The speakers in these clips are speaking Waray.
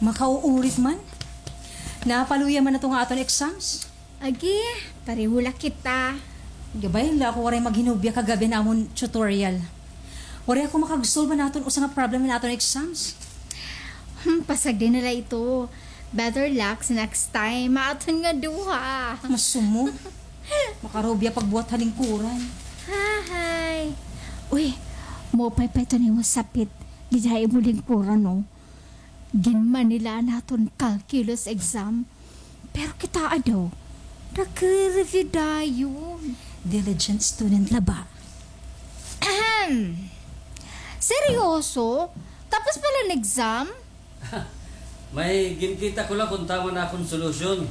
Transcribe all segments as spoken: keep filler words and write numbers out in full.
Makauurit man. Napaluya man ato nga aton exams. Agi, pareho la kita. Gabay la ako waray maghinubya kagab-i han amon tutorial. Waray ako makag-solve han aton usa nga problem han aton exams. Hmm, pasagdi na la ito. Better luck sa next time. Maaton nga duha. Masumo. Makarubya pagbuhat ha lingkuran. Hahay. Uy, maupay pa ito nimo sapit. Dida ha imo lingkuran, no? Ginmanila an aton calculus exam. Pero kitaa daw, nagre-review dayon. Diligent student la ba? Ahem. Seryoso? Tapos pa la an exam? May ginkita ko la kon tama an akon solusyon.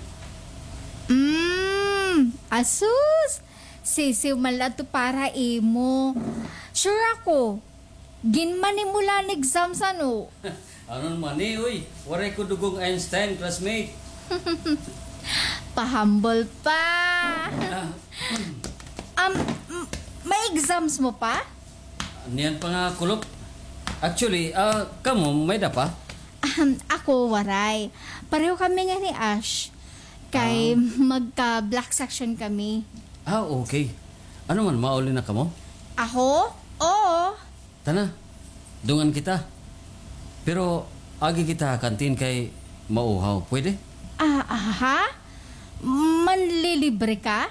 Mm, asus! Sisiw man la ito para imo. Sure ako, ginmani mo la an exams, ano? Ano man, eh, uy? Waray ko dugang Einstein, classmate. Pahambol pa. Ah. Um, m-, may exams mo pa? Niyan pa nga kulop. Actually, ah, kamo, may-ada pa? Ahem, ako, waray. Pareho kami nga ni Ash. Kay Ah. magka-black section kami. Ah, okay. Ano man, mauli na kamo? Ako? Oo. Tana, dungan kita. Pero agi kita ha kantin kay mauhaw. Pwede? Ah, aha? Manlilibre ka?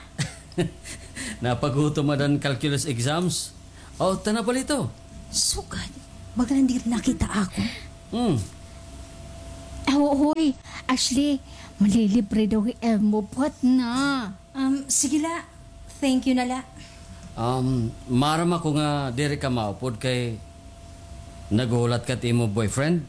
Napagutom adan calculus exams. O, tana palito. Sugad. Baga la diri nakita ako. Hmm. Aw, hoy, Ashley, manlilibre daw hi Elmo. Buhat na. Um, sige la. Thank you na la. Um, maaram ako nga diri ka maupod kay naghuhulat ka it imo boyfriend.